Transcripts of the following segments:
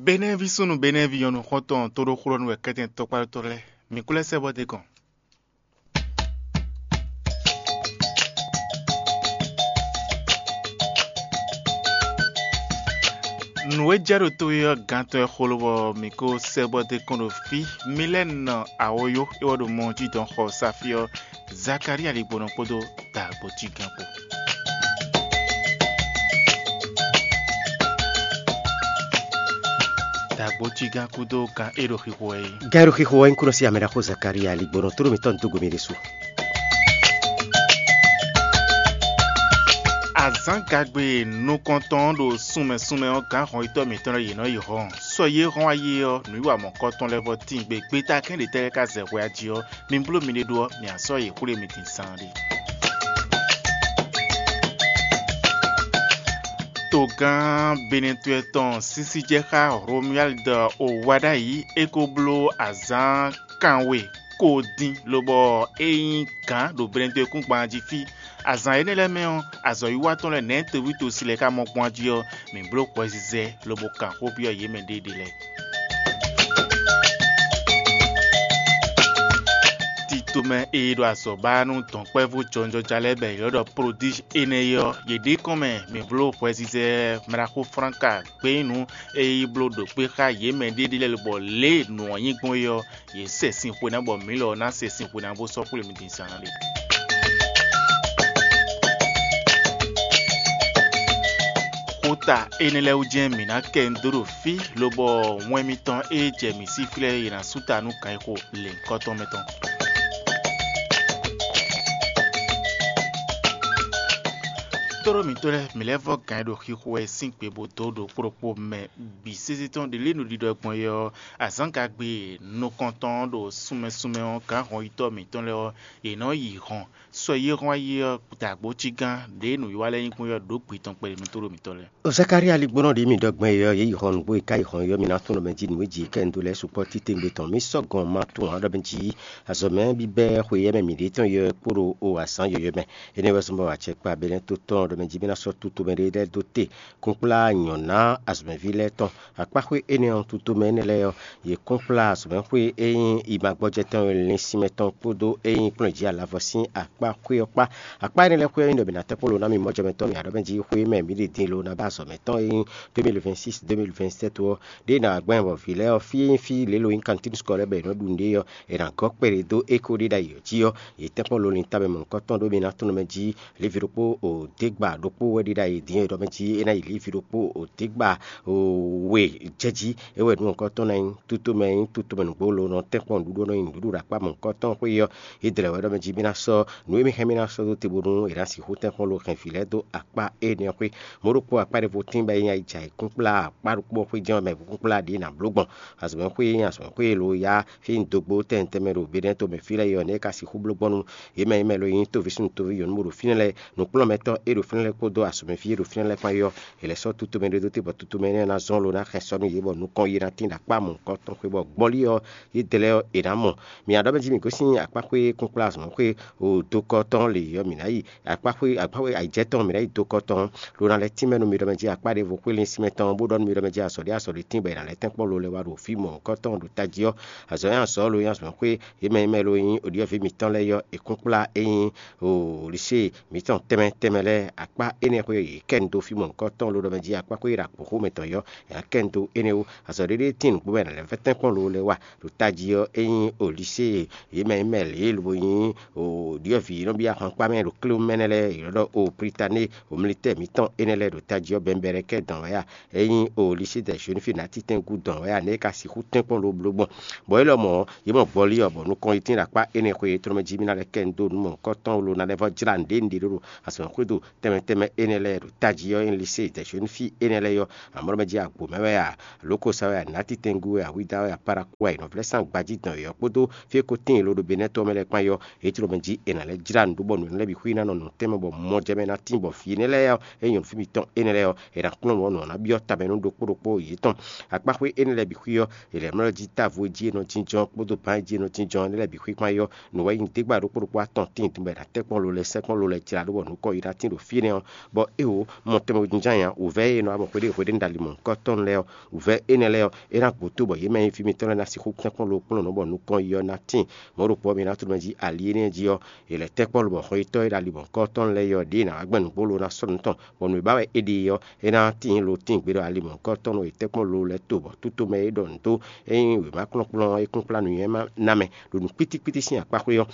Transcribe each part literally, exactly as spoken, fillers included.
Benɛ́ví súnnu Benɛ́ví nyɔ̌nu xɔ́ntɔn tóɖóxúɖɔ́nú wɛ kɛ́tɛn tɔkpáɖótɔ́ lɛ́ɛ, mǐ kú lɛ́ sɛ́ bɔ d'é kɔn. Nǔ e jɛ ɖo to e ɔ́ gantɔ́ ɛ xo lobɔ mǐ ko sɛ́ bɔ d'é kɔn ɖo fí. Mǐ lɛ́ nɔ awoyó é wɔ ɖo mɔ jí dɔn xɔ Safí ɔ́, Zakalía ligbɔnɔ kpódó dǎgbó cí gán kpó. Dǎgbó cí gán kúdó gán é ɖo xixo wɛ é. Gǎn e ɖo xixo wɛ nyí kúnɔ sín amɛ ɖaxó Zakalía ligbɔnɔ tóɖó mǐtɔn dó gbe mì ɖésú. Azǎngagbe nukɔntɔn ɖo súnmɛ súnmɛ ɔ́, gǎn hɔnyitɔ́ mǐtɔn lɛ́ɛ yě nɔ yi hɔn. Sɔ yě hɔn ayé ɔ́, nǔwiwa mɔ̌kɔtɔn lɛ́ɛ vɔ tíin gbe. Gbeta kɛ́n ɖě tɛ́ lɛ́ɛ ka zɛ hwɛ ají ɔ́, mi bló miɖée ɖó ɔ́, mǐ a sɔ́ yě xwlé mi din zaanɖé. Togán Benɛtɔ́ tɔn sísí jɛ xá Romuald Owadayi, é ko bló azǎn kanwe ko dín, lobɔ é nyí gǎn ɖo Benɛtɔ́ kúngban jí fí. Azǎn énɛ́ lɛ́ɛ mɛ ɔ́, azɔ̌wiwa tɔn lɛ́ɛ nɛ̌ toví tosi lɛ́ɛ ka mɔ gbɔn jí ɔ́, mǐ bló hwɛzizɛ lobo kan xó byɔ́ yě mɛ ɖéeɖe lɛ́ɛ. Titomɛ e ɖo azɔ̌ ba nú dɔ̌nkpɛvú jɔnjɔja lɛ́ɛ bɔ è ylɔ́ ɖɔ Prodíj énɛ́ é ɔ́, yě ɖe kɔn mɛ mǐ bló hwɛzizɛ mlaxó Flánka gbeyínu e yi bló ɖo kpé xá yě mɛ ɖéeɖe lɛ́ɛ lobɔ lě e nǔ ɔ́ nyí gbɔn é ɔ́, yě sɛ sin xwe ná bɔ mǐ lɔ ná sɛ sin xwe ná bó sɔ́ xwlé mi din zaan ɖé. Xota énɛ́ lɛ́ɛ wú jɛ́n mǐ ná kɛ nǔ dó ɖo fí, lobɔ wɛn mitɔn e jɛ mǐ sí flɛ́ è nǎ sú ta nú kan e xo lěhunkɔtɔn mɛ tɔn. Tóɖó mǐtɔn lɛ́ɛ, mǐ lɛ́ vɔ́ gǎn e ɖo xixo wɛ sín gbe bó dó ɖokpó ɖokpó mɛ bǐ sésé tɔn ɖě lě nǔɖiɖɔ gbɔn é ɔ́, azǎngagbe nukɔntɔn ɖo sunmɛ sunmɛ ɔ́, gǎn hɔnyitɔ́ mǐtɔn lɛ́ɛ ɔ́, yě nɔ yi hɔn. Sɔ e yí hɔn ayé ɔ́, dǎgbó cí gán ɖě nǔwiwa lɛ́ɛ nyí gbɔn é ɔ́ ɖǒ gbe tɔn kpɛɖé nú tóɖó mǐtɔn lɛ́ɛ. Zakalía ligbɔnɔ ɖě mǐ ɖɔ gbɔn é ɔ́, yě yi hɔn nǔgbó e ka yi hɔn é ɔ́, mǐ ná tunwun ɖɔ mɛ jí nǔ e jí kɛ un dó lɛ́ɛ sukpɔ́ titewungbe tɔn. Mǐ sɔ́ gɔn ma tunwun ǎ ɖɔ mɛ jí azɔ̌ mɛ bíbɛ́ xwe éyɛ́ mɛ mǐ ɖe tɔn yɔ kpó ɖo o azǎn yɔ̌yɔ́ mɛ. Énɛ́ wɛ zɔ́n bɔ acɛkpa Benɛ́to tɔn ɖɔ mɛ jí mǐ ná sɔ́ tutomɛ ɖé lɛ́ɛ dó te kúnkplá nyɔ̌ná azɔ̌mɛví lɛ́ɛ tɔn. Akpá xwé énɛ́ ɔ́, tutomɛ énɛ́ lɛ́ɛ ɔ́, yě kún kplá azɔ̌mɛxwé e nyí imagbɔjɛtɔn e lin sinmɛ tɔn kpódó e nyí kplɔ́n jí alavɔ sín akpá xwé ɔ́ kpá. Akpá énɛ́ lɛ́ɛ xwé ɔ́ nyí ɖɔ mǐ ná tɛ́ kpó lo ná mì mɔjɛmɛtɔ́ mǐ aɖɔ́mɛ jí xwé mɛ mǐ ɖe din lo ná ba azɔ̌ mɛtɔn e nyí deux mille vingt-six deux mille vingt-sept ɔ́. Ɖěe ná wá gbɛn bɔ vǐ lɛ́ɛ ɔ́, fí e nyí fí lě lo nyí kantín skɔ lɛ́ɛ bɔ è nɔ́ ɖu nǔɖé ɔ́, è nǎ gɔ́ kpɛɖé dó é kó ɖe ɖ'ayǐ ɔ́ jí ɔ́, yě tɛ́nkpɔ́n lolin tamɛ mɔ̌hunkɔtɔn ɖó mǐ ná tunwun mɛ jí. Lěvi ɖokpó o dégba ɖokpó wɛ ɖi ɖ'ayǐ din e ɖɔ mɛ jí é ná yi lěvi ɖokpó o dégba o we jɛ jí. É wɛ nǔ mɔ̌hunkɔtɔn ná nyí tutomɛ nyí tutomɛ nǔgbó lo nɔ tɛ́nkpɔ́n nǔɖuɖu nɔ nyí nǔɖuɖu ɖo akpá mɔ̌hunkɔtɔn xwé ɔ́. Yě dlɛ̌ wɛ ɖɔ mɛ jí mǐ ná sɔ́ nǔ e mǐ hɛn mǐ ná sɔ́ dó te bónú è nǎ sixú tɛ́nkpɔ́n lo hɛn vǐ lɛ́ɛ dó akpá énɛ́ ɔ́ xwé. Mɔ̌ ɖokpó akpá ɖěvo tín bɔ é nyí ayijǎ e kún kplá akpá ɖokpó ɔ́ xwé jɛ́n ɔ́ mɛ kún kplá ɖě ná bló gbɔn. Azɔ̌mɛxwé e nyí azɔ̌mɛxwé e lo yá fí un dó gbó tɛnmɛ tɛnmɛ ɖo Benɛ́to mɛ fí lɛ́ɛ é ɔ́, nɛ̌ é ka sixú bló gbɔn nú yě mɛ e mɛ lo nyí tóví súnnu tóví nyɔ̌nu bó ɖo fínɛ́ lɛ́ɛ, nǔkplɔ́nmɛtɔ́ e ɖo fínɛ́ lɛ́ɛ kpódó azɔ̌mɛví e ɖo fínɛ́ lɛ́ɛ kpán é ɔ́, è lɛ̌ sɔ́ tutomɛ ɖé dó te bɔ tutomɛ énɛ́ ná zɔ́n lo ná xɛn sɔ́ nú yě bɔ nukɔn yi ná tín ɖo akpá mɔ̌hunkɔtɔn xwé bɔ gbɔlí ɔ́, yědɛɛ lɛ́ɛ ɔ́, è nǎ mɔ. Mǐ aɖɔ́ mɛ jí mǐ gosín akpáxwé kúnkplá azɔ̌mɛxwé o dokɔ tɔn lě ɔ́, mǐ ná yi akpáxwé akpáxwé ayǐjɛ tɔn mǐ ná yi dokɔ tɔn, lo ná lɛ́ tínmɛ nú mi ɖɔ mɛ jí akpá ɖěvo xwé lin sinmɛ tɔn, bó ɖɔ nú mi ɖɔ mɛ jí azɔ̌ ɖé azɔ̌ ɖé tín bɔ è nǎ lɛ́ tɛ́nkpɔ́n lo lɛ́ wá ɖo fí mɔ̌hunkɔtɔn ɖo tají ɔ́. Azɔ̌ nyí azɔ̌ lo nyí azɔ̌mɛxwé yě mɛ e mɛ lo nyí oɖiɔ́ví mǐtɔn lɛ́ɛ yɔ́ è kún kplá é nyí lisée mǐtɔn tɛnmɛ tɛnmɛ lɛ́ɛ akpá énɛ́ xwé yě kɛ nu dó fí mɔ̌hunkɔtɔn lo ɖɔ mɛ jí akpáxwé ɖo akpǒxó mǐtɔn yɔ́ è nǎ kɛ nu dó énɛ́ ó. Azɔ̌ ɖé ɖé tíin nǔgbó mɛ è nǎ lɛ́ vɛ́ tɛ́nkpɔ́n lo lɛ́ wá ɖo tají ɔ́, é nyí o lisée yě mɛ e mɛ lě e lobo nyí o ɖyɔ̌vǐ e nɔ byɔ́ ahwankpá mɛ ɖo klé mɛ nɛ́ lɛ́ɛ è nɔ ɖɔ o Plitané, o militɛ́ɛ mǐtɔn énɛ́ lɛ́ɛ ɖo tají ɔ́ bɛnbɛlɛkɛ dɔn wɛ a? É nyí o lisée dɛ Zonifi ná títɛn gúdo wɛ a? Nɛ̌ é ka sixú tɛ́nkpɔ́n lo bló gbɔn? Bɔ élɔ́ mɔ̌, yě mɔ gbɔlí ɔ́, bɔ nukɔn yi tín ɖo akpá énɛ́ xwé yětɔn mɛ jí mì ná lɛ́ kɛ nu dó nǔ mɔ̌hunkɔtɔn lo ná lɛ́ vɔ́ jlá nǔɖé nǔɖé ɖó azɔ̌ xwédo tɛnmɛ tɛnmɛ énɛ́ lɛ́ɛ ɖo tají ɔ́, é nyí lisée dɛ Zonifi énɛ́ lɛ́ɛ ɔ́, amɔ̌ mɛ jí agbo mɛ wɛ a? Lǒ ko sa wɛ a? Nǎ titɛngú wɛ a? Hwídá wɛ a? Paraku wɛ a? È nɔ vlɛ́ sán gbají dɔn yɔ̌ kpódó fí e ko tíin loɖo Benɛ́tɔ́ mɛ lɛ́ɛ kpán yɔ́. Yě jló mɛ jí è nǎ lɛ́ jlá nǔ ɖó bɔ nǔ lɛ́ɛ bǐ xwí ná nɔ nɔ tɛ́nmɛ bɔ mɔjɛmɛ ná tín bɔ vǐ énɛ́ lɛ́ɛ ɔ́, é nyɔ̌nu fí mitɔn énɛ́ lɛ́ɛ ɔ́, è nǎ kplɔ́n nǔ ɔ́ nǔ ɔ́ ná byɔ́ tamɛ nú ɖokpó ɖokpó yětɔn. Akpáxwé énɛ́ lɛ́ɛ bǐ xwí ɔ́, è lɛ̌ mlɔ́ jí távo e jí è nɔ jínjɔ́n kpódó bǎn e jí è nɔ jínjɔ́n énɛ́ lɛ́ɛ bǐ xwí kpán yɔ́. Nǔ wɛ nyí dégbá ɖokpó ɖokpó atɔn tíin din bɔ è nǎ tɛ́ kpɔ́n lo lɛ́ɛ sɛ́ kpɔ́n lo lɛ́ɛ jlá ɖó bɔ nǔ kɔ yi ná tín ɖo fí Énɛ́ ɔ́, bɔ é wǒ mɔ tɛnmɛ jínján nya wǔvɛ́ e nɔ wá mɔ xwéɖé xwéɖé ní ɖo ali mɔ̌hunkɔtɔn lɛ́ɛ ɔ́, wǔvɛ́ énɛ́ lɛ́ɛ ɔ́, é ná gbǒ tó bɔ yě mɛ e nyí fí mitɔn lɛ́ɛ ná sixú tɛ́nkpɔ́n lo kplɔ́n nǔ bɔ nukɔn yi ɔ́ ná tíin. Mɔ̌ ɖokpó ɔ́, mi ná tló mɛ jí ali énɛ́ jí ɔ́, è lɛ̌ tɛ́nkpɔ́n lo bɔ xɔnyitɔ́ e ɖo ali mɔ̌hunkɔtɔn lɛ́ɛ ɔ́ ɖěe ná wá gbɛn nǔgbó lo ná sɔ́ nǔ tɔn, bɔ nǔ e ba wɛ é ɖe é ɔ́, é ná tíin lo tíin gbe ɖɔ ali mɔ̌hunkɔtɔn e tɛ́nkpɔ́n lo lɛ́ɛ to bɔ tútomɛ e ɖɔ nǔ dó é nyí wěma kplɔ́nkplɔ́n é kún kplá nǔnywɛ́ ná mɛ ɖo nǔ kpítíkpítí sín akpá xwé ɔ́.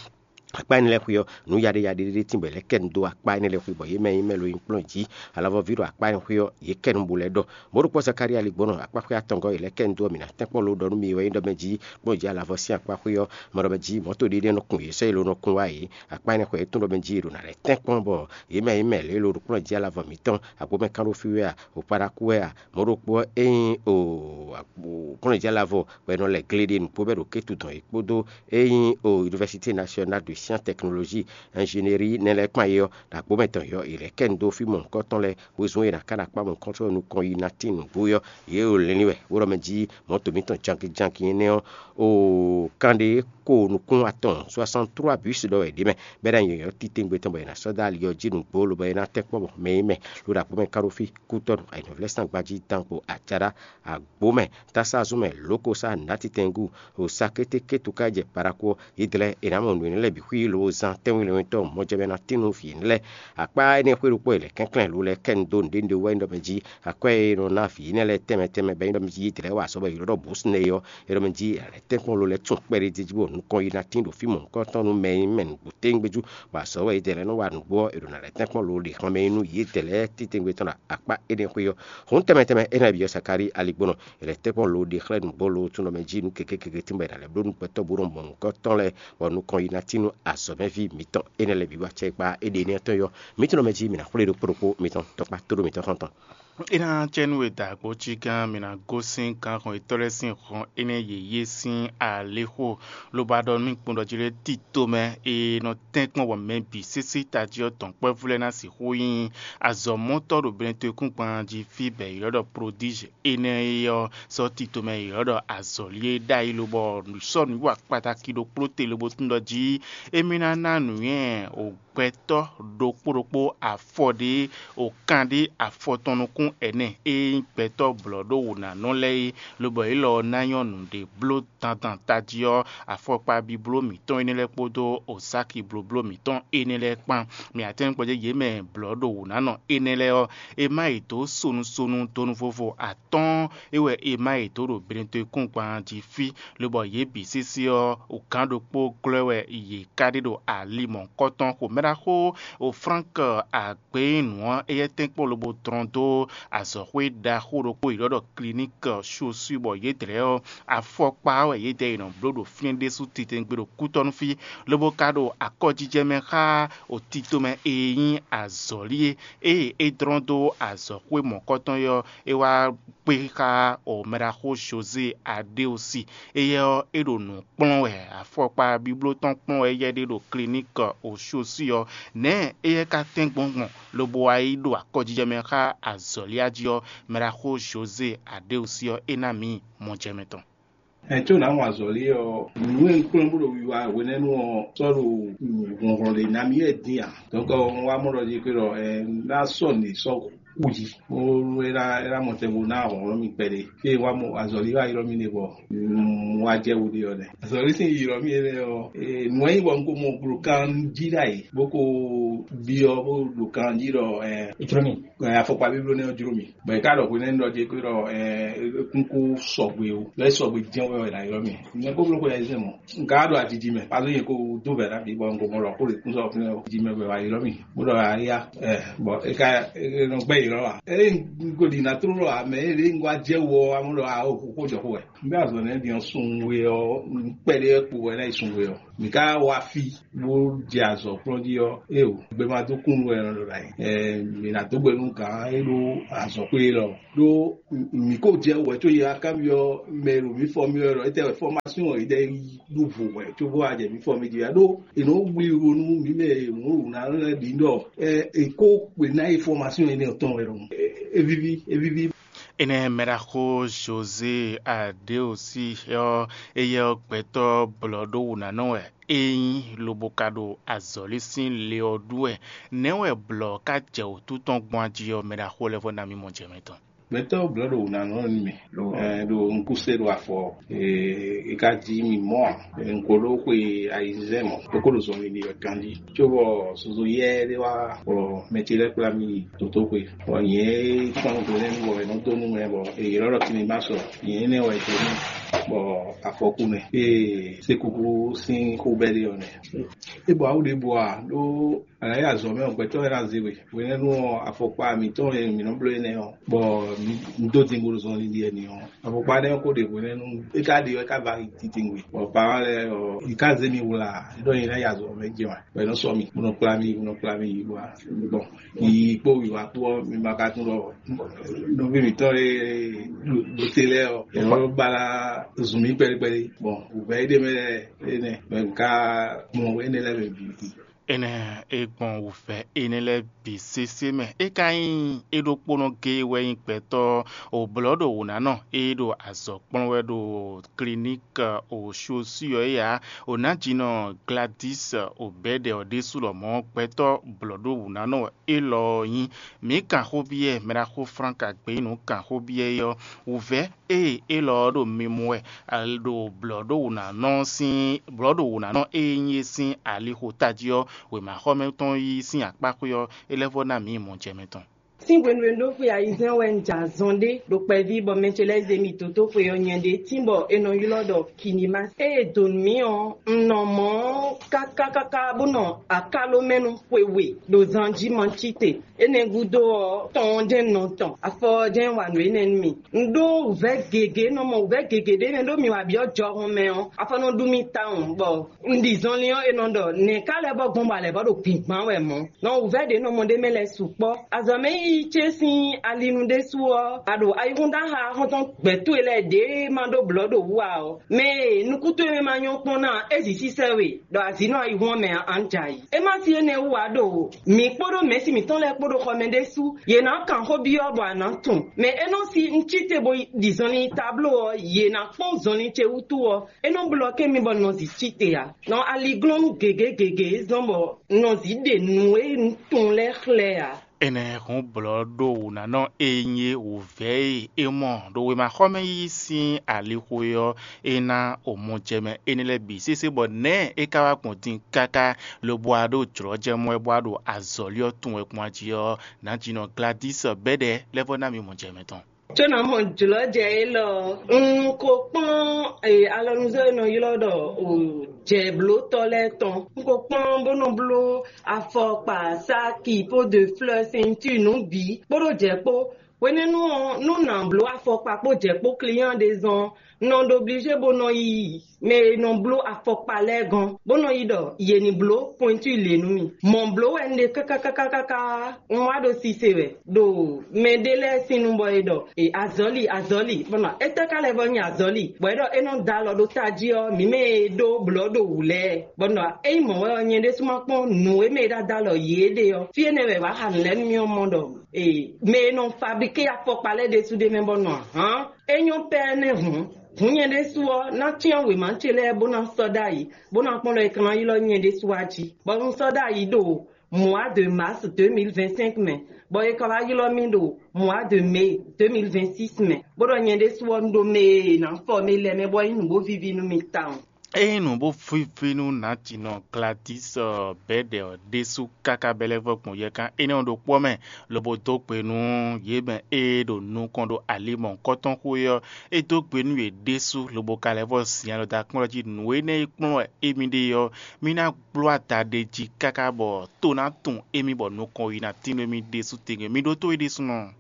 Akpá énɛ́ lɛ́ɛ xwé ɔ́, nǔ yaɖé yaɖé ɖé tínbɔ è lɛ́ kɛ nu dó akpá énɛ́ lɛ́ɛ xwé, bɔ yě mɛ e nyí mɛ lo nyi kplɔ́n jí alavɔví ɖo akpá énɛ́ xwé ɔ́, yě kɛ nu bó lɛ́ ɖɔ. Mɔ̌ ɖokpó Zakalía Ligbɔnɔ akpá xwé atɔngɔ́ è lɛ́ kɛ nu dó ɔ́, mǐ ná tɛ́nkpɔ́n lo ɖɔ nú mi wɛ nyí ɖɔ mɛ jí kplɔ́n jí alavɔ sín akpá xwé ɔ́, mɔ ɖɔ mɛ jí mɔ̌to ɖé nɔ kun yě sɔ́ yě lo nɔ kun wá yě. Akpá énɛ́ xwé é tún ɖɔ mɛ jí è ɖo ná lɛ́ tɛ́nkpɔ́n bɔ yě mɛ e nyí mɛ lě lo ɖo kplɔ́n jí alavɔ mǐtɔn, agbǒmɛ kán ɖó fí wɛ a, o Paɖakú wɛ a, mɔ̌ ɖokpó ɔ́, é nyí o kplɔ́n jí alavɔ bɔ è nɔ lɛ gle ɖe nǔgbó bɔ é ɖo kétu dɔn yě kpódó é nyí o Université Nationale de Sciences Technologie Ingénierie nɛ́ lɛ́ɛ kpán é ɔ́, ɖo agbǒmɛ tɔn yɔ è lɛ́ kɛ nu dó fí mɔ̌hunkɔtɔn lɛ́ɛ, wezun e è nǎ ká ɖo akpá mɔ̌hunkɔtɔn ɔ́ nukɔn yi ná tín nǔgbó é ɔ́, yě ɖo lɛ́n lɛ́ wɛ bó ɖɔ mɛ jí mɔ̌to mǐtɔn jankin jankin énɛ́ ɔ́, o kan ɖé ko nukún atɔn soixante-trois bus ɖɔ wɛ ɖě mɛ, bɔ é ná nyɔ̌nyɔ́ titewungbe tɔn bɔ è nǎ sɔ́ dó ali ɔ́ jí nǔgbó lobɔ é ná tɛ́nkpɔ́n bɔ mɛ e nyí mɛ ɖo ɖo agbǒmɛ ká ɖó fí kútɔ́ nú ayǐhɔ́ngblɛ́sán gbají dán kpo ajaɖá agbǒ mɛ, tásázún mɛ, lǒkosá, nǎtitɛngú, osákétékétu ká jɛ Paɖaku ɔ́, Yídɛlɛ́ è nǎ mɔ nǔ énɛ́ lɛ́ɛ bǐ xwí lobo zán tɛ́nwínlɛ́nwíntɔ́ mɔjɛmɛ ná tín nú vǐ énɛ́ lɛ́ɛ. Akpá énɛ́ xwé ɖokpó e lɛ̌ kɛnklɛ́n lo lɛ́ɛ kɛ nu dó nǔɖé nǔɖé wú wɛ nyí ɖɔ mɛ jí akwɛ́ e è nɔ ná vǐ énɛ́ lɛ́ɛ tɛnmɛ tɛnmɛ bɔ é nyí ɖɔ mɛ jí Yídɛlɛ́ wa azɔ̌ bɔ è ylɔ́ ɖɔ Bǔsnɛ é ɔ́, é ɖɔ mɛ jí è lɛ̌ tɛ́nkpɔ́n lo lɛ́ɛ tún kpɛɖé d'é jí bɔ nukɔn yi ná tín ɖo fí mɔ̌hunkɔtɔn nú mɛ e nyí mɛ nǔgbó téwúngbéjú, bɔ azɔ̌ wɛ Yídɛlɛ́ nɔ wa nǔgbó ɔ́, è ɖo ná lɛ̌ tɛ́nkpɔ́n lo ɖe xan mɛ e nyí nú Yídɛlɛ́ títewungbe tɔn ɖo akpá énɛ́ xwé ɔ́. Hǔn tɛnmɛ tɛnmɛ énɛ́ bǐ ɔ́, Sakalíi aligbɔnɔ è lɛ̌ tɛ́nkpɔ́n lo ɖe xlɛ́ nǔgbó lo tún nɔ mɛ jí nú keke keke tín bɔ è nǎ lɛ́ bló nú gbɛtɔ́ bó nɔ mɔ nǔkɔ́tɔn lɛ́ɛ, bɔ nukɔn yi ná tín nú azɔ̌mɛví mǐtɔn énɛ́ lɛ́ɛ bǐ wá acɛkpá é ɖe énɛ́ tɔn yɔ. Mǐ tunɔ mɛ jí mǐ ná xwlé ɖokpó ɖokpó mitɔn tɔkpá tóɖó mǐtɔn xɔ́ntɔn. É ná cɛ nú we da agbo cí gán mǐ ná gosín gǎnhɔn yětɔn lɛ́ɛ sín hɔn énɛ́ yěyé sín alixo, lobo ɖɔ nú mì kpɔ́n ɖɔ jí lé tito mɛ e nɔ tɛ́nkpɔ́n bɔ mɛ bǐ sésé tají ɔ́ dɔ̌nkpɛ́vú lɛ́ɛ ná sixú nyí azɔ̌mɔtɔ́ ɖo Benetɔ́kúngban jí fí bɔ è ylɔ́ ɖɔ Prodízhe énɛ́ é ɔ́ sɔ́ tito mɛ è ylɔ́ ɖɔ azɔ̌lí e ɖ'ayǐ lobɔ sɔ́ nǔwiwa kpatáki ɖokpó te lobo tún ɖɔ jí émí ná ná nǔnywɛ́ gbɛtɔ́ ɖokpó ɖokpó afɔ ɖé, o kan ɖé afɔ tɔn nukún ɛnɛ e nyí gbɛtɔ́ blɔ̌ ɖó wǔnánɔ lɛ́ɛ é, lobɔ yě lɔ ɔ́ ná nyɔ́ nǔɖé bló dandan tají ɔ́, afɔkpa bibló mǐtɔn énɛ́ lɛ́ɛ kpódó osáki blóbló mǐtɔn énɛ́ lɛ́ɛ kpán. Mǐ atɛ́ngbɔjɛ́ yě mɛ blɔ̌ ɖo wǔnánɔ énɛ́ lɛ́ɛ ɔ́, è má yě dó sonu sonu donu vovo atɔ́ɔ́n é wɛ è má yě dó ɖo Benetɔ́kúngban jí fí, lobɔ yě bǐ sésé ɔ́, gǎn ɖokpó glɔ́ wɛ yě ká ɖe ɖo ali mɔ̌hunkɔtɔn xomɛɖaxó o Flánk agběnǔ ɔ́, éyɛ́ tɛ́nkpɔ́n lobo dlɔ́n dó azɔ̌xwé ɖaxó ɖokpó e è ɖɔ ɖɔ Kliník Shoswí, bɔ yědɛɛ ɔ́, afɔkpa ɔ́ wɛ yědɛɛ è nɔ bló ɖo fínɛ́ ɖésú titewungbe ɖo kútɔ́nú fí, lobo ka ɖo akɔjijɛ mɛ xá o tito mɛ e nyí azɔ̌lí é, ée é dlɔ́n dó azɔ̌xwé mɔ̌kɔtɔn é ɔ́, é wá kpé xá o mɛɖaxó Jozée Adéosi. Éyɛ́ ɔ́, é ɖo nǔ kplɔ́n wɛ, afɔkpa bibló tɔn kplɔ́n wɛ éyɛ́ ɖe ɖo Kliník Oshosí ɔ́. Nɛ̌ éyɛ́ ka tɛ́n gbɔn gbɔn, lobo wá yi ɖo akɔjijɛ mɛ xá azɔ̌lí jí ɔ́, mɛɖaxó Jozée Adéosi ɔ́, é ná mǐ mɔjɛmɛ tɔn. Ɛ có nǎ wɔn azɔ̌lí ɔ́, nǔ e un kplɔ́n bó ɖo wiwa hwenɛ́nu ɔ́ sɔ́ ɖo hlɔ̌nhlɔ́n ɖě ná mì wɛ dín ǎ. Dɔ̌nkɔ un wá mɔ ɖɔ jí xwé ɖɔ ɛ ná sɔ́ nǔ sɔ́ kú jí. Bó é ná é ná mɔ tɛnmɛ ná hlɔ̌nhlɔ́n mì kpɛɖé. Fí e wá mɔ azɔ̌lí wá ylɔ́ mì ɖe bɔ un wá jɛ wǔ ɖe ɔ́ nɛ́. Azɔ̌lí sín ylɔ́ mì énɛ́ ɔ́, nǔ e nyí bɔ un ko mɔ ɖo kan jí ɖ'ayǐ, bó ko byɔ́ bó ɖo kan jí ɖɔ ɛ Jló mì. Ɛ, afɔkpa bíbló nɛ́ ɔ́ jló mì. Bɔ è ka ɖɔ hwenɛ́nu ɖɔ jí kpé ɖɔ ɛ kúnkún sɔgbe o, lɔ é sɔgbe jɛ́n wɛ wɛ ná ylɔ́ mì. Nyɛ kó bló xwe yɛzɛ́ mɔ. Un ka ɖo ajiji mɛ, pazó nyɛ ko dó vɛ̌ ná bǐ bɔ un ko mɔ ɖɔ xó ɖě kún sɔ́ fínɛ́ o. Jiji mɛ wɛ wá ylɔ́ mì. Bó ɖɔ ayá, ɛ, bɔ é ka é nɔ gbɛ́ ylɔ́ a? Ényí un ko ɖi ná tló ɖɔ ǎ, mɛ é ɖě un wá jɛ wɔ ɔ́, amú ɖɔ a o xó jɔ xó wɛ. Un bɛ azɔ̌ nɛ́ din ɔ́ sun we ɔ́, un kpɛɖé wɛ kpo wɛ ná yi sun we ɔ́. Mǐ ka wá fí bó jɛ azɔ̌ kplɔ́n jí ɔ́, éeǒ, gbɛmadókúnnu wɛ è nɔ ɖo ɖo ayǐ. Ɛ, mǐ ná dó gbe nú gǎn e ɖó azɔ̌xwé élɔ́. Ɖó mǐ ko jɛ wɛ có yě wá kanbyɔ́ mɛ e ɖo mǐ fɔ mì wɛ ɖɔ étɛ́ wɛ fɔ́másyɔn ɔ́ yi ɖɔ é ɖu vo wɛ cóbó wá jɛ mǐ fɔ mì jí wá. Ɖó è nɔ wlí wo nú mǐ mɛ e mǔ ɖo ná lɛ́ɛ bǐ ɖɔ ɛ è kó xwe ná yi fɔ́másyɔn énɛ́ ɔ́ tɔn wɛ ɖɔhun. É víví, é víví. Énɛ́ mɛɖaxó José Adéosi ɔ́, éyɛ́ ɔ́ gbɛtɔ́ blɔ̌ɖówǔnánɔ wɛ é nyí, lobo ka ɖo azɔ̌lí sín le ɔ́ ɖu wɛ. Nɛ̌ wɛ blɔ̌ ka jɛ wǔtu tɔn gbɔn ají ɔ́, mɛɖaxó lɛ́ɛ vɔ ná mì mɔ jɛ mɛ tɔn? Gbɛtɔ́ blɔ̌ɖówǔnánɔ nú mì ɖo ɛ, ɖo ŋkúsé ɖo afɔ. Ee, e ka ji mì mɔ a? Ŋkó ɖó xwe ayizɛ́n mɔ, é ko ɖo zɔnlin ɖi wɛ ganjí. Cóbɔ zozo yɛ́ ɖé wá, bɔ mɛ ce lɛ́ɛ kplá mì yi dotóxwe. Bɔ nyɛ e kpɔ́n hwelɛ́nu bɔ è nɔ dó nú mɛ bɔ è ylɔ́ ɖɔ Kinibasɔ, nyɛ énɛ́ wɛ è dó nú, bɔ afɔkú mɛ. Ee, sékúkú sín xó bɛ́ ɖé ɔ́ nɛ́. É bɔ awu ɖěbǔ a ɖó Alǎ yi azɔ̌ mɛ ɔ́, gbɛtɔ́ lɛ́ɛ ná zé we. Hwenɛ́nu ɔ́, afɔkpa mǐtɔn e mǐ nɔ bló énɛ́ ɔ́, bɔ mǐ dó dingbo ɖo zɔnlin ɖi wɛ n'i ɔ́, afɔkpa énɛ́ ɔ́ ko ɖe hwenɛ́nu, é ka ɖe ɔ́, é ka va yi titewungbe. Bɔ parents lɛ́ɛ ɔ́, yě ka zé mi wlá, é ɖɔ nyɛ ná yi azɔ̌ mɛ jɛ wǎn, bɔ è nɔ sɔ́ mì, bó nɔ kplá mì, bó nɔ kplá mì yi wá. Bon, yiyi kpó wǐwá kpó ɔ́, mi ma ka tunwun ɖɔ nɔví mǐtɔn e ɖo te lɛ́ɛ ɔ́, è nɔ ba zun mì kpɛɖé kpɛɖé. Bon, wǔvɛ́ é ɖe mɛ lɛ́ɛ énɛ́, bɔ è ka gbɔn énɛ́ lɛ́ɛ mɛ bǐ. Énɛ́ e gbɔn wǔvɛ́ énɛ́ lɛ́ɛ bǐ sésé mɛ. É ka nyí é ɖokpónɔ géé wɛ nyí gbɛtɔ́ òblɔ̌ɖowǔnánɔ e ɖo azɔ̌ kplɔ́n wɛ ɖo kliník òsúsú ɔ́ é ǎ. Ònájínɔ Gladys Obɛ́dɛ ɔ́ ɖésú lɔmɔ̌ gbɛtɔ́ blɔ̌ɖowǔnánɔ élɔ́ ɔ́ nyí. Mǐ kan xó byɔ́ mɛɖaxó Frank Agbeyínu kan xó byɔ́ é ɔ́, wǔvɛ́ ée élɔ́ ɔ́ ɖo mi mɔ wɛ, ɖo blɔ̌ɖówǔnánɔ sín blɔ̌ɖówǔnánɔ e nyí é sín alixo tají ɔ́, wěmaxɔmɛ tɔn yí sín akpáxwé ɔ́, é lɛ́ vɔ ná mǐ mɔ jɛ mɛ tɔn. Sín hwenu e un ɖó xwe ayizɛ́n wɛ un jɛ azɔn ɖé ɖo kpɛví bɔ mɛ ce lɛ́ɛ zé mì dó dó xwe ɔ́ nyɛ ɖé tín bɔ è nɔ ylɔ́ ɖɔ Kinimás. Ée è dǒ nú mì ɔ́, un nɔ mɔ̌ káká káká bó nɔ akáló mɛ nú xwe we ɖo zan jí ma cí te. Énɛ́ gúdo ɔ́, tɔn ɔ́ jɛ́n nɔ tɔn, afɔ ɔ́ jɛ́n wa nǔ énɛ́ nú mì. Un ɖó wǔvɛ́ gěgé, nɔ mɔ wǔvɛ́ gěgé ɖé nɛ́ ɖó mi wá byɔ́ jɔhɔn mɛ ɔ́, afɔ nɔ ɖu mì tawun bɔ un ɖi zɔnlin ɔ́, è nɔ ɖɔ nɛ̌ ká lɛ́ bɔ gbɔn bɔ alɛ bɔ ɖo gbǐngbán wɛ mɔ̌. Nɔ wǔvɛ́ ɖě nɔ mɔ ɖ'é mɛ lɛ́ɛ sukpɔ́. Azɔ̌mɛ yiyi ce sín alinu ɖésú ɔ́, a ɖo ayihúndáxa xɔ́ntɔn gbɛ̌ towe lɛ́ɛ ɖě ma ɖó blɔ̌ ɖo wú ǎ ɔ́, mɛ e nukún towe mɛ ma nyɔ́ kpɔ́n ná, é zǐ sísɛ́ we ɖɔ azǐ nɔ ayihún ɔ́ mɛ ǎ, a nǎ jɛ ayǐ. É má sí énɛ́ wú ǎ ɖo mǐ kpódó mɛ̌si mǐtɔn lɛ́ɛ kpó ɖo xɔ mɛ ɖésú, yě ná kan xó byɔ́ bɔ a nǎ tunwun. Mɛ é nɔ sí un cí te bo yi ɖi zɔnlin tabló ɔ́, yě ná kpɔ́n zɔnlin ce wútu ɔ́, é nɔ blɔ́ ké mi bɔ nɔ zǐ cí te ǎ. Nɔ aliglɔ́nú gěgé gěgé zɔ́n bɔ nɔ zǐ ɖe nǔ e un tunwun lɛ́ɛ xlɛ́ ǎ. Énɛ́ hɔn blɔ̌ ɖo wǔnánɔ e nyí wǔvɛ́ e é mɔ ɖo wěmaxɔmɛ yí sín alixo é ɔ́, é ná omɔjɛ mɛ énɛ́ lɛ́ɛ bǐ sésé bɔ nɛ̌ é ka wá gbɔn din káká lobo wá ɖo jlɔ̌ jɛ mɔ wɛ bó wá ɖo azɔ̌li ɔ́ tunwun wɛ gbɔn ají ɔ́, nǎjínɔ Gladys bɛ́ɖɛ lɛ́ vɔ ná mì mɔ jɛ mɛ tɔn. Có ná mɔ jlɔ̌ jɛ élɔ́, un ko kpɔ́n alɔnuzɔ́ e nɔ ylɔ́ ɖɔ jɛ̌blótɔ́ lɛ́ɛ tɔn. Un ko kpɔ́n bó nɔ bló afɔkpa, sáki, po de fleurs, ceinture, nǔ bǐ kpódó jɛ̌ kpó. Hwenɛ́nu ɔ́, nú nǎ bló afɔkpa kpó jɛ̌ kpó client ɖé zɔn, un nɔ ɖo obligé bó nɔ yi mɛ e nɔ bló afɔkpa lɛ́ɛ gɔ́n, bó nɔ yi ɖɔ yě ní bló pointure lě nú mì. Mɔ̌ bló wɛ un ɖe káká káká káká, un wá ɖo sise wɛ ɖo mɛɖé lɛ́ɛ sín nu bɔ è ɖɔ e azɔ̌li azɔ̌li, bɔ nɔ étɛ́ ka lɛ́ vɔ nyi azɔ̌li, bɔ é ɖɔ é nɔ da alɔ ɖó tají ɔ́, mǐ mɛ e ɖó blɔ̌ ɖo wǔ lɛ́ɛ, bɔ nɔ ényí mɔ̌ wɛ ɔ́, nyɛ ɖésú ma kpɔ́n nǔ e mɛ e ɖo ada alɔ yě ɖe ɔ́, fí énɛ́ wɛ wǎ xa nǔ lɛ́ɛ nú mì ɔ́ mɔ ɖɔ ee mɛ e nɔ fablíké afɔkpa lɛ́ɛ ɖésú ɖ'é mɛ bɔ nɔ ahǎn. É nyɔ́ pɛ́ nɛ́ hǔn. Hǔn nyɛ ɖésú ɔ́, ná cyán wěma ce lɛ́ɛ bó ná sɔ́ ɖ'ayǐ, bó ná kpɔ́n ɖɔ è ka ná ylɔ́ nyɛ ɖésú wá jí, bɔ un sɔ́ ɖ'ayǐ ɖo mois de mars deux mille vingt-cinq mɛ, bɔ è ka wá ylɔ́ mì ɖo mois de mai deux mille vingt-six mɛ, bó ɖɔ nyɛ ɖésú ɔ́, un ɖo mɛ e è nǎ fɔ mi lɛ́ɛ mɛ bɔ é nyí nǔ bó víví nú mi tawun. Ényí nǔ bó víví nú nǎjínɔ Gladys bɛ̌ɖɛ ɔ́ ɖésú káká bɛ́ lɛ́ vɔ́ gbɔn yɛkan énɛ́ ɔ́ ɖokpó ɔ́ mɛ, lobo dó gbe nú yě mɛ e ɖo nukɔn ɖo ali mɔ̌hunkɔtɔn xwé ɔ́. É dó gbe nú yě ɖésú, lobo ka lɛ́ vɔ́ zin alɔ dó akpɔ́n jí nǔ énɛ́ e kplɔ́n wɛ émí ɖe ɔ́, mí ná gbló ada ɖ'é jí káká bɔ tó ná tunwun émí bɔ nukɔn yi ná tín nú émí ɖésú tɛngbɛ. Mi ɖótó é ɖésúnɔ.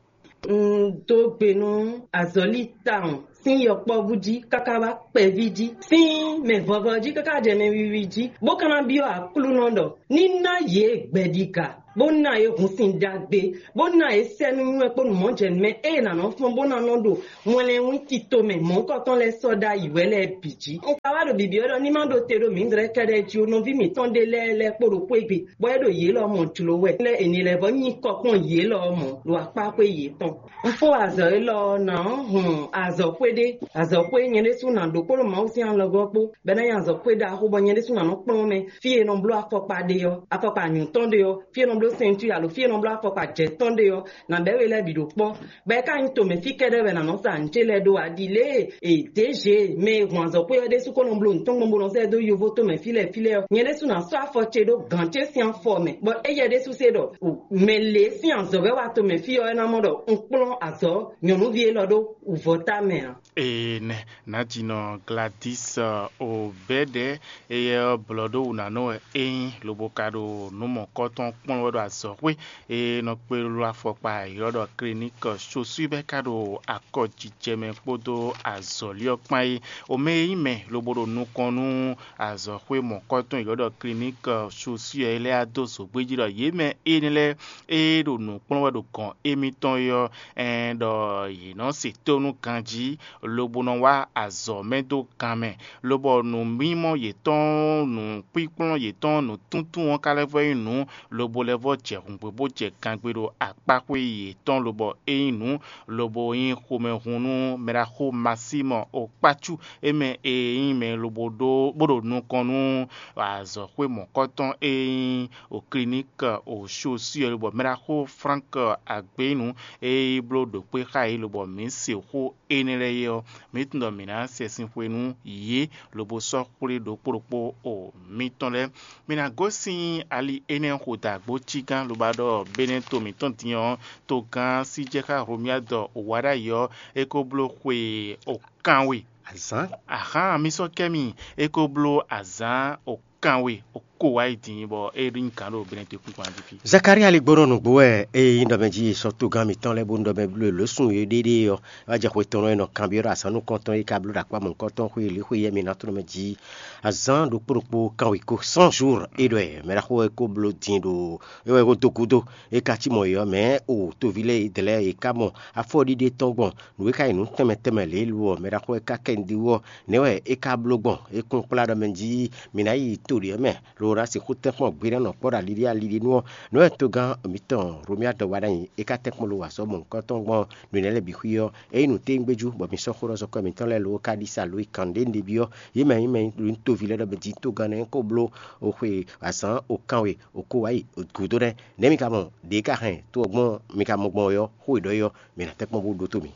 Un dó gbe nú azɔ̌li tawun sín yɔkpɔ́vú jí káká wá kpɛví jí, sín mɛ vɔvɔ jí káká jɛ mɛ wiwi jí, bó ka ná byɔ́ Aklúnɔ ɖɔ ní ná yě gbɛɖiga. bó ná yě hun sin ɖagbe, bó ná yě sɛ́ nú nywɛ́ kpó nǔmɔjɛnǔmɛ ée nǎ nɔ fɔ́n bó ná nɔ ɖo wɛnlɛnwín tito mɛ mɔ̌hunkɔtɔn lɛ́ɛ sɔ́ ɖ'ayǐ wɛ lɛ́ɛ bǐ jí. Un ka wá ɖo bǐbí ɔ́ ɖɔ ní má ɖo te ɖo mǐdrɛ́ kɛ́ɖɛ́ jí ó, nɔví mǐtɔn ɖé lɛ́ɛ lɛ́ kpo ɖo xwé gbe, bɔ é ɖo yě lɔ mɔ jlǒ wɛ, lɛ́ è nǐ lɛ́ vɔ́ nyi kɔ kpɔ́n yě lɔ mɔ ɖo akpá xwé yětɔn. Un fó azɔ̌ élɔ́ ɔ́, nǎ hun azɔ̌xwé ɖé, azɔ̌xwé nyɛ ɖésú ná ɖó kpódó Mawu sín alɔgɔ́ kpó, bɔ é ná nyí azɔ̌xwé ɖaxó, bɔ nyɛ ɖésú ná nɔ kplɔ́n mɛ fí e è nɔ bló afɔkpa ɖe ɔ́, afɔkpa nyǔtɔn ɖe ɔ́, fí e è nɔ bló sɛntu alo fí e è nɔ bló afɔkpa jɛ̌tɔn ɖe ɔ́, nǎ bɛ́ we lɛ́ɛ bǐ ɖo kpɔ́. Bɔ é ka nyí tomɛ fí kɛ́ɖɛ́ wɛ nǎ nɔ sa nǔ ce lɛ́ɛ ɖó ǎ. Ɖi lě e è dě zě mɛ e hun azɔ̌xwé ɔ́ ɖésú kó nɔ bló nǔ tɔn gbɔn bó nɔ sɛ́ dó yovo tomɛ fí lɛ́ɛ fí lɛ́ɛ ɔ́, nyɛ ɖésú ná sɔ́ afɔ ce ɖó gǎn ce sín afɔ mɛ, bɔ éyɛ́ ɖésú se ɖɔ mɛ lě sín azɔ̌ wɛ wá tomɛ fí ɔ́, é ná mɔ ɖɔ un kplɔ́n azɔ̌ nyɔ̌nuví élɔ́ ɖó wǔvɔ́ ta mɛ ǎ. Ee nɛ, nǎjínɔ Gladys Obɛ́dɛ, éyɛ́ ɔ́ blɔ̌ ɖó wǔnánɔ wɛ é nyí, lobo ka ɖo nǔ mɔ̌kɔ́tɔn kplɔ́n wɛ ɖo azɔ̌xwé e nɔ kpé ló afɔkpa ylɔ́ ɖɔ Clinique Chaussure bɛ́ ka ɖo akɔjijɛ mɛ kpódó azɔ̌li ɔ́ kpán é. Omɛ e nyí mɛ lobo ɖo nukɔn nú azɔ̌xwé mɔ̌kɔ́tɔn ylɔ́ ɖɔ Clinique Chaussure é lɛ́ɛ dó zǒgbé jí ɖɔ yě mɛ énɛ́ lɛ́ɛ e ɖo nǔ kplɔ́n wɛ ɖo gɔ̌n émítɔn é ɔ́, ɛn ɖɔ yě nɔ se tónú ganjí, lobo nɔ wá azɔ̌ mɛ dó gan mɛ, lobɔ nǔmimɔ yětɔn, nǔkpíkplɔ́n yětɔn, nǔtúntún ɔ́ ka lɛ́ vɔ nyí nǔ, lobo lɛ́ vɔ jɛ hǔngbé bó jɛ gangbe ɖo akpáxwé yětɔn, lobɔ é nyí nǔ, lobo nyí xomɛhun nú mɛɖaxó Masímɔ Okpácú, é mɛ e nyí mɛ lobo ɖó bó ɖo nukɔn nú azɔ̌xwé mɔ̌kɔtɔn e nyí Clinique Chaussure, lobɔ mɛɖaxó Frank Agbénu e yi bló ɖo kpé xá yě, lobɔ mǐ se xó énɛ́ lɛ́ɛ é ɔ́, mǐ tunwun ɖɔ mǐ ná sɛ sin xwe nú yě, lobo sɔ́ xwlé ɖokpó ɖokpó o mǐtɔn lɛ́ɛ. Mǐ ná gosín ali énɛ́ xo dó agbócígán, lobo ɖɔ Benɛ́ to mǐtɔn din ɔ́, togán Síjɛxá Hlomyád Owaɖ'ayǐ ɔ́, é ko bló xwe o kanwe. Azǎn. Ahán, mi sɔ́ kɛ mi, é ko bló azǎn o kanwe o ko wá yi din, bɔ é ɖó nyí gǎn ɖo Benɛ́ to kúnkún jí fí. Zakalía ligbónɔ nǔgbó wɛ ée nyí ɖɔmɛ jí sɔ́ togán mǐtɔn lɛ́ɛ bónú ɖɔmɛ bló lǒ sun e ɖéɖé ɔ́, wá jɛ xwe tɔn e nɔ kanbyɔ́ ɖo azǎn nukɔntɔn e ka bló ɖo akpá mɔ̌hunkɔtɔn xwe e lě xwe yɛ́ mi ná tlɔ́n mɛ jí. Azǎn ɖokpó ɖokpó kanwekó cent jours é ɖɔ ɛ mɛ ɖaxó wɛ ko bló din ɖo é wɛ ko dó gúdo. É ka cí mɔ yě ɔ́, mɛ̌ o toví lɛ́ɛ e dlɛ̌ è ká mɔ afɔɖiɖe tɔn gbɔn nǔ e ka nyí nǔ tɛnmɛ tɛnmɛ lě lu ɔ́, mɛ ɖaxó wɛ ka kɛ nyi ɖi wú ɔ́, nɛ̌ wɛ é ka bló gbɔn? É kún kplá ɖɔ mɛ jí mǐ ná yi to ɖě mɛ, lo ná sixú tɛ́nkpɔ́n gbeɖánɔ kpɔ́ ɖo aliɖí aliɖínú ɔ́, nǔ e togán mǐtɔn Romia dɔ wa ná nyi é ka tɛ́nkpɔ́n lo wa sɔ́ mɔ̌hunkɔtɔn gbɔn nǔnɛ́ lɛ́ɛ bǐ xwí ɔ́, é nyí nǔtɛ́ngbéjú, bɔ mi sɔ́ xó ɖɔ sɔ́ kɔ mǐtɔn lɛ́ɛ lo ká ɖi sa lo yi kǎn ɖé nɖéví ɔ́, yě mɛ nyí mɛ nyí toví lɛ́ɛ ɖɔ mɛ jí togán nɛ́ ko bló xwe azǎn o kanwe o ko wá yi gǔdo nɛ́. Nɛ̌ mi ka mɔ ɖě ka hɛn tó ɔ́ gbɔn mi ka mɔ gbɔn ɔ́, xó e ɖɔ é ɔ́, mi ná tɛ́nkpɔ́n bó ɖótó mi.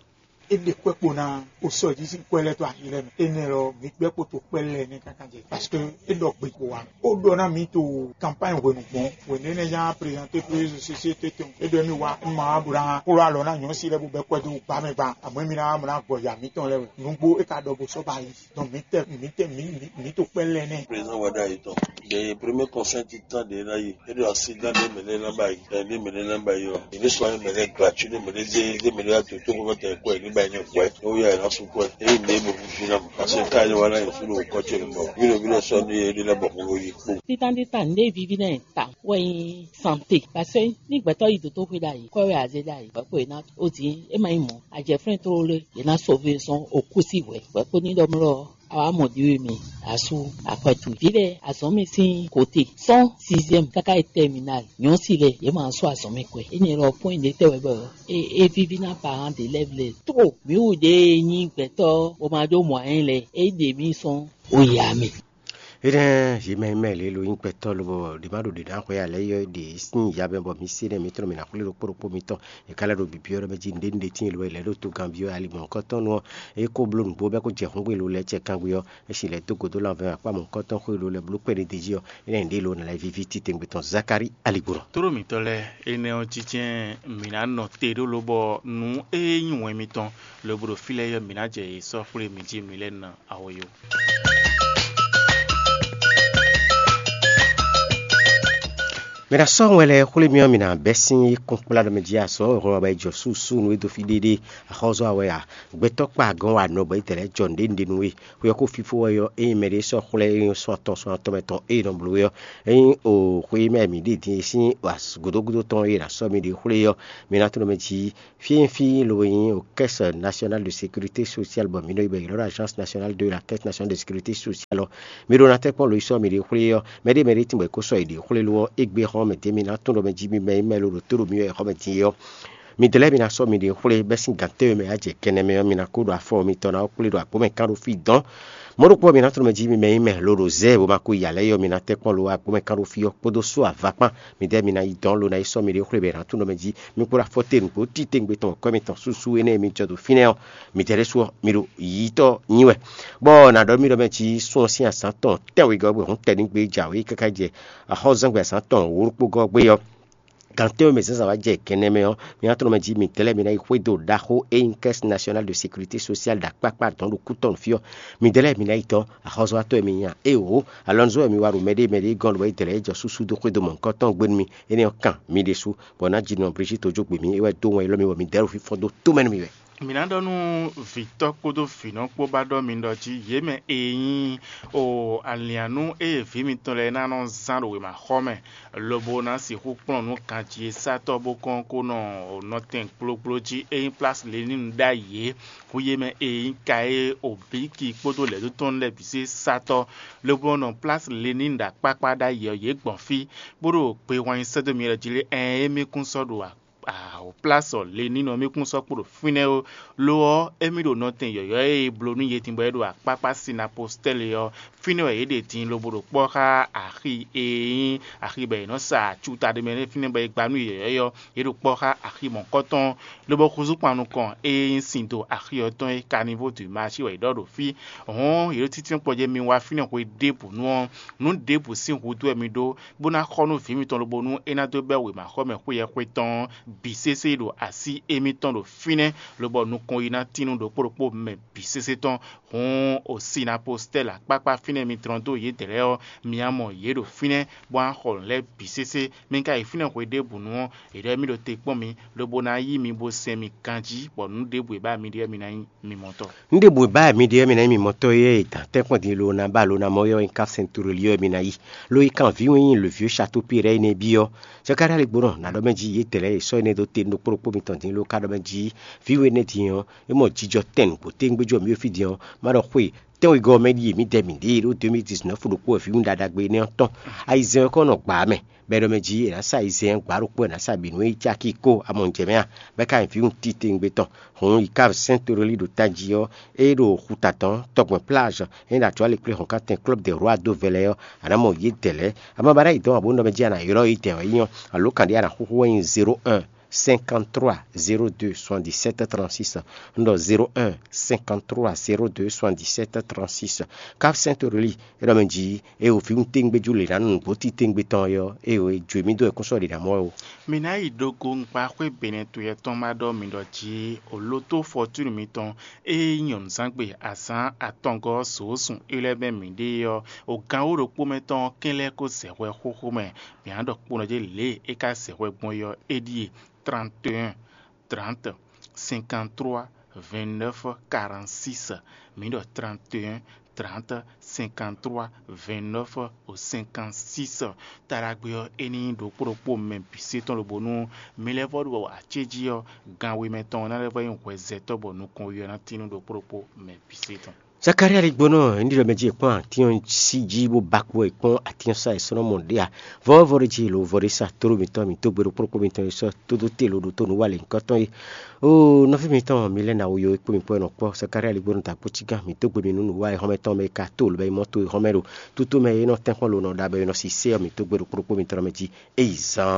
É ɖe kwɛ́ kpo ná o sɔjí sín kwɛ́ lɛ́ɛ tó ayi lɛ́ɛ mɛ. Énɛ́ lɔ, mǐ gbɛ́ kpo to kpɛ́ lɛ́ɛ nɛ́ káká jɛ. Parce que é ɖɔ gbe kpo wa. Ó ɖɔ ná mǐ to kanpány hwenu gbɔn. Hwenu énɛ́ nya prezanté pé société tɔn. É ɖɔ émí wá, un ma wá bó ná kplɔ́ alɔ ná nyɔ̌si lɛ́ɛ bó bɛ́ kwɛ́ dó gbá mɛ gba. Àmọ́ émí ná wá mɔ ná gbɔ ya mǐtɔn lɛ́ɛ wɛ. Nǔgbó é ka ɖɔ bó sɔ́ ba yi. Donc mǐ tɛ mǐ tɛ mǐ mǐ to kpɛ́ lɛ́ɛ nɛ́. Président Wada yi tɔn. Ɖe premier conseil ti tán ɖe ná yi. É ɖo accident ɖé mɛ lɛ́ ná ba yi. Ɖe mɛ lɛ́ ná ba yi ɔ. Èmi sɔ mɛ lɛ́ gblacú ɖé mɛ lɛ́ zé ɖé mɛ lɛ́ atu tó kó tɛ kɔ ɛ ní ba yi ní kɔ ɛ. Ó yà ná sukú ɛ. Èyí mi é mo fífí ná mo. Parce que ká yẹ wá ná yẹ fúnú kɔ tse mi bɔ. Wílò wílò sɔ ní é ɖé lɛ́ bɔ kó yi kpó. Títan títan ní ɖé vivi nɛ ta wɛ nyi santé. Parce que ní gbɛtɔ yi doto xwe ɖa yi, kɔ wɛ azé ɖa yi, bɔ kó yi ná o di é ma yi mɔ. Àjẹ flɛ́n tlóló lé, yě ná sɔvé sɔn okú sí hwɛ. Hwɛ kó ní ɖɔ mlɔ a wá mɔ ɖi wɛ mi asu akpɛtu. Vǐ lɛ́ɛ azɔ̌ mi sín côté cent sixième káká yi terminal. Nyɔ̌si lɛ́ɛ yě ma sɔ́ azɔ̌ mi kwɛ. Énɛ́ lɔ pɔ́n ɖě tɛ wɛ bɔ é é víví ná parent d'élève lɛ́ɛ. Tó mǐ wú ɖě e nyí gbɛtɔ́ bó ma ɖó mɔ̌ ɛ lɛ́ɛ é ɖe mì sɔ́n o ya mì. Énɛ́ yě mɛ mɛ lě lo nyí gbɛtɔ́ lobɔ ɖě ma ɖo ɖě ná xwɛ alɛ yɔ ɖě sín ya mɛ bɔ mi se nɛ mi tlɔ́n mi ná xwlé ɖokpó ɖokpó mitɔn. È ka lɛ́ ɖo bǐbí ɔ́ ɖɔ mɛ jí nǔɖé nǔɖé tíin lo wɛ lɛ̌ ɖo togán byɔ́ ali mɔ̌hunkɔtɔn nu ɔ́, é ko bló nǔgbó bɔ é ko jɛ hǔngbɛ́n lo lɛ́ɛ cɛ kangbé ɔ́, é si lɛ̌ dó gǒ dó lanvɛ́ akpá mɔ̌hunkɔtɔn xwé lo lɛ́ bló kpɛ́ ɖé d'é jí ɔ́, énɛ́ nǔɖé lo ná lɛ́ víví titewungbe tɔn Zakalí aligbó nɔ. Tóɖó mǐtɔn lɛ́ɛ, énɛ́ ɔ́ jínjɛ́n mǐ ná nɔ te ɖó lobɔ nǔ e nyí wɛn mitɔn lobo ɖo fí lɛ́ɛ ɔ́, mǐ ná jɛ yě sɔ́ xwlé mǐ jí mǐ lɛ́ ná awo yó. Mɛ ná sɔ́ wɛn lɛ́ɛ xwlé mì ɔ́, mì nǎ bɛ́ sín kúnkplá ɖɔ mɛ jí azɔ̌ e hwlɛ́n wɛ bɔ é jɔ súsú nú é dó fí ɖéɖé. Axɔ́zɔ́ a wɛ a? Gbɛtɔ́ kpa gɔ́n wa nɔ bɔ é dɛ lɛ́ɛ jɔ nǔɖé nǔɖé nú we. Xwe ɔ́ ko fífó wɛ ɔ́, ényí mɛɖé sɔ́ xwlɛ́ ényí sɔ́ atɔn sɔ́ atɔn mɛ tɔn ée nɔ bló é ɔ́, ényí o xwe mɛ mǐ ɖe din e sín gǒdógúdó tɔn e è nǎ sɔ́ mì ɖe xwlé é ɔ́, mi ná tunwun mɛ jí fí e nyí fí lobo nyí o Caisse Nationale de Sécurité Sociale bɔ mǐ nɔ yi bɔ è ylɔ́ ɖɔ Agence Nationale de la Caisse Nationale de Sécurité Sociale ɔ́, mi ɖó ná tɛ́nkpɔ́n lo yi sɔ́ mǐ ɖe xwlé ɔ́, mɛ ɖé mɛ ɖé tínbɔ è ko sɔ́ yi ɖě xwlé lo ɔ́, égbé xɔ́ mɛ din mi ná tunwun ɖɔ mɛ jí mi mɛ e mɛ lo ɖo tó ɖo mi wɛ xɔ́ mɛ din é ɔ́, midɛɛ lɛ́ɛ mi ná sɔ́ miɖée xwlé bɛ́ sín gǎn tɛ́nwe mɛ yi jɛ kɛnɛ mɛ ɔ́, mi ná ko ɖo afɔ mitɔn ná ɔ́ kplé ɖo agbǒ mɛ kán ɖó fí dɔ̌n. Mɔ̌ ɖokpó ɔ́, mi ná tunwun mɛ jí mi mɛ e mɛ lo ɖo zɛ e bó ma ko yi alɛ é ɔ́, mi ná tɛ́nkpɔ́n lo wá agbǒ mɛ kán ɖó fí ɔ́ kpódó sú ava kpán. Midɛɛ mi ná yi dɔ̌n lo ná yi sɔ́ miɖée xwlé bɔ è nǎ tunwun ɖɔ mɛ jí mi kpo ɖo afɔ te nǔgbó titewungbe tɔn kɔ́ mitɔn súsú énɛ́ e mi jɔ ɖo fínɛ́ ɔ́, midɛɛ ɖésú ɔ́, mi ɖo yiyítɔ́ nyi wɛ. Bɔ nǎ ɖɔ mì ɖɔ mɛ jí sun ɔ́ sín azǎn tɔn tɛ́nwegɔ́ bɔ hǔn tɛnɖígbe jǎwe káká jɛ axɔ́zɛ́ngbe azǎn tɔn wǒ ɖokpó gɔ́ gbé ɔ́, gan tɛ́nwe mɛ zǎnzǎn wá jɛ gɛnɛ mɛ ɔ́, mi ná tunwun mɛ jí midɛɛ lɛ́ɛ mi ná yi xwedó ɖaxó e nyí Caisse Nationale de Sécurité Sociale ɖo akpákpá dɔ̌n ɖo kútɔ́nu fí ɔ́. Midɛɛ lɛ́ɛ mi ná yi dɔn axɔ́zɔ́watɔ́ e mi nyí a? Éeǒ, alɔnuzɔ́ wɛ mi wa ɖo mɛɖée mɛɖée gɔ́n lobo é dɛ lɛ́ɛ jɔ súsú dó xwedó mɔ̌hunkɔtɔn gbe nú mi. Énɛ́ ɔ́ kan mi ɖésú, bɔ ná ji nɔ Brigitte jó gbe mì, é wɛ dó wɛn élɔ́ mì bɔ mi dɛ̌ ɖo fífɔ́n dó tomɛ nú mi wɛ. Mǐ ná ɖɔ nú vǐtɔ́ kpódó vǐnɔ kpó ba ɖɔ mi ɖɔ jí yě mɛ e nyí o aliǎnnú e vǐ mitɔn lɛ́ɛ ná nɔ zán ɖo wěmaxɔ mɛ, lobo ná sixú kplɔ́n nǔ ganjí e sátɔ́ bó kɔn kó nɔ nɔtɛn gblógbló jí e nyí Plásí Lenínu ɖ'ayǐ é. Hú yě mɛ e nyí Kayé, Obíki kpódó lɛ̌ dó tɔn lɛ́ɛ bǐ zé sátɔ́, lobo nɔ Plásí Lenínu ɖo akpákpá ɖ'ayǐ ɔ́, yě gbɔn fí, bó ɖo gbe hwan nyi sɛ́ dó mi lɔ jí lé? Ɛɛn, émí kún sɔ́ ɖo a Awo plásɔ le nínɔ mì kún sɔ́ kpo ɖo fínɛ́ ó. Lo ɔ́, émí ɖo nɔtɛn yɔ̌yɔ́ e è bló nú yědin bɔ é ɖo akpákpá Sinapostɛ́li ɔ́, fínɛ́ wɛ yě ɖe din lobo ɖo kpɔ́ xá axi e nyí axi bɔ è nɔ́ sa acuta ɖé mɛ nɛ́ fínɛ́ bɔ è gba nú yě yɔ̌yɔ́ ɔ́, yě ɖo kpɔ́ xá axi mɔ̌kɔtɔn, lobo húzú kpan nukɔn e nyí sin do axi ɔ́ tɔn é, Kanivó du Mashi wɛ è ɖɔ ɖo fí. Hɔ̌n yě ɖo títínɔ́ kpɔjɛ́ mi wá fínɛ́ hwe ɖěbǔ nu ɔ́, nǔ ɖěbǔ sín húzú wɛ mi ɖó, bó ná xɔ nú vǐ mitɔn lobo nú é ná dó bɛ́ wěmaxɔmɛ xwé yɛhwe tɔn ɔ́ bǐ sésé ɖo así émítɔn ɖo fínɛ́, lobɔ nukɔn yi ná tín nú ɖokpó ɖokpó mɛ bǐ sésé tɔn. Hǔn, Osinapostɛ́li akpákpá fínɛ́ mi tlɔ́n dó yědɛɛ lɛ́ɛ ɔ́, mi ná mɔ yě ɖo fínɛ́, bó ná xɔ nǔ lɛ́ɛ bǐ sésé. Mi ka yi fínɛ́ hwe ɖěbǔnu ɔ́, è ɖɔ émí ɖo te kpɔ́n mi, lobo ná yí mi bó sɛn mi ganjí, bɔ nǔ ɖěbǔ e ba mi ɖe ɔ́, mi ná nyí mi mɔtɔn. Nǔ ɖěbǔ e ba mi ɖe ɔ́, mi ná nyí mi mɔtɔn é, è dǎn tɛ́nkpɔ́n din lo ná ba lo ná mɔ ɔ́, é nyí Kafsɛntuloli ɔ́, mi ná yi. Lo yi kan vǐ wɛn nyí le vieux Château Pierre énɛ́ byɔ́. Zakalía lɛ́ gbo nɔ nǎ ɖɔ mɛ jí yědɛɛ lɛ́ɛ e sɔ́ énɛ́ dó te nú ɖokpó ɖokpó mitɔn din ló ka ɖɔ mɛ jí vǐ we énɛ́ din ɔ́, é mɔ jijɔ tɛn nǔgbó téwúngbéjú ɔ́ mì ɖo fí din ɔ́, má ɖɔ xwe tɛ́nwegɔ́ ɔ́ mɛ ɖíe mǐdɛɛ mǐ ɖe ɖó deux mille dix-neuf ɖokpó wɛ vǐwun ɖaɖagbe énɛ́ ɔ́ tɔn. Ayizɛ́n ɔ́ kɔ nɔ gbǎ mɛ, bɔ é ɖɔ mɛ jí è nǎ sa ayizɛ́n ɔ́ gbǎ ɖokpó è nǎ sa bǐ nú é caki kó amɔnjɛmɛ a, bɔ é ka nyí vǐwun titewungbe tɔn. Hǔn yi ka sɛ́n Torelí ɖo tají ɔ́, é ɖo xuta tɔn tɔgbɛn plage, é ɖo atuali kplé hɔn katɛn club de roi dó vɛlɛ ɔ́, a nǎ mɔ yědɛɛ lɛ́ɛ. Ama ba ná yi dɔn abo nɔ mɛ jí a nǎ ylɔ́ yědɛɛ wɛ nyí ɔ́, alo kan ɖé a nǎ xúxú wɛ nyí zéro un cinquante-trois zéro deux soixante-dix-sept trente-six. Un ɖɔ zéro un cinquante-trois zéro deux soixante-dix-sept trente-six. Cap Saint Aurélie, é ɖɔ mɛ jí é o vǐwun téŋgbéjú lě ná nú nǔgbó titewungbe tɔn ɔ́, é o é jó mì dó wɛ kún sɔ́ ɖě ná mɔ wɛ o. Mi ná yi ɖo go ŋkpa xwé Benɛtu yɛtɔn ma ɖɔ mi ɖɔ jí o loto fɔtúnu mitɔn e nyí nyɔ̌nuzángbe azǎn atɔngɔ́ ɔ́ zǒzun é lɛ́ mɛ mǐɖée ɔ́, o gǎn wǒ ɖokpó mɛ tɔn ɔ́ kɛn lɛ́ kó zɛ hwɛ xóxó mɛ. Mǐ ná ɖɔ kpónɔ jí lě é ka zɛ hwɛ gbɔn é ɔ́, é ɖíe: trente et un, trente, cinquante-trois, vingt-neuf, quarante-six. Mǐ ɖɔ trente et un, trente, cinquante-trois, vingt-neuf, cinquante-six. Taɖagbe ɔ́, é ní nyí ɖokpó ɖokpó mɛ bǐ sé tɔn lobo nú mi lɛ́ vɔ́ ɖo acéjí ɔ́, gan we mɛ tɔn ɔ́ ná lɛ́ vɔ́ nyí hwɛzɛtɔ́ bɔ nukɔn we ɔ́ ná tín nú ɖokpó ɖokpó mɛ bǐ sé tɔn. Zakalía ɖi gbónɔ, ní ɖɔ mɛ jí è kpɔ́n atín ɔ́ sí jí bó ba kpo è kpɔ́n atín ɔ́ sá è sɔ́ nɔ mɔ ɖě a? Vɔ̌vɔ́ ɖé jí lo vɔ ɖé sa tóɖó mitɔn mì dó gbe ɖokpó ɖokpó mitɔn e sɔ́ tó dó te lo ɖo tó nǔ wa lě nyǐkɔ tɔn é. Oo, nɔví mitɔn mi lɛ́ɛ na wo yo e kpó mi kpɔ́ e nɔ kpɔ́ Zakalía ɖi gbónɔ da kpó cí gán mì dó gbe mi nú nǔ wa e hɔn mɛ tɔn mɛ e ka tó lǒ bɔ é mɔ to e hɔn mɛ ɖo tútú mɛ e nɔ tɛ́nkpɔ́n lo nɔ ɖa bɔ è nɔ sisɛ ɔ́, mì dó gbe ɖokpó ɖokpó mitɔn mɛ jí é yi zaan.